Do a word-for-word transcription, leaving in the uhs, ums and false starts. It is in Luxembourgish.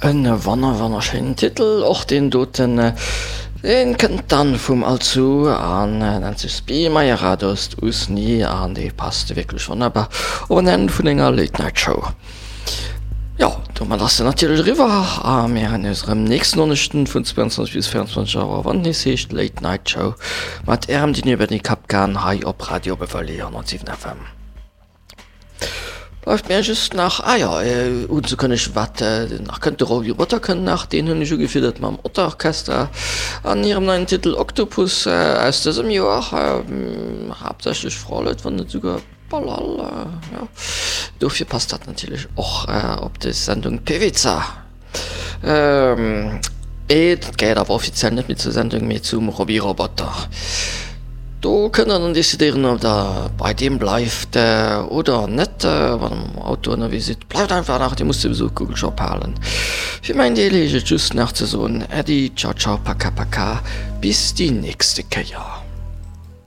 En wonner wonnerschéinen Titel och deen doten. Deen kënnt dann vum Alsu an nennt sech Spi Maja Radost Usni an dee passt wierklech wonnerbar op en Enn vun enger Late Night Show. Jo, domat ass se natierlech eriwwer a mir héieren eis erëm nächsten Donneschden vun zwouanzwanzeg bis véierundzwanzeg Auer, wann et nees heescht Late Night Show mat ärem Dino Benny Kapkan hei op Radio Beverly honnertsiwen F M. Bleift mir just nach, ah jo, unzekënnegen, wat nach kënnt. De Roby Rotter kënnt nach, deen hunn ech ugefiddert mam Otter Orchestra an hirem neien Titel Octopus aus dësem Joer. Haaptsächlech Frauleut, wann net esouguer Bal all, jo. Dofir passt dat natierlech och op des Sendung Pevica. Et gehéiert awer offiziell net méi zur Sendung, mee zum Roby Roboter. Do kënnt der dann decidéieren, ob der bei deem bleift oder net. Wann der mam Auto ënnerwee sidd, bleift einfach nach, dir musst souwisou d'Kugel ophalen. Fir mäin Deel heescht et just nach ze soen, Äddi, ciao ciao, paka paka, bis déi nächste Kéier.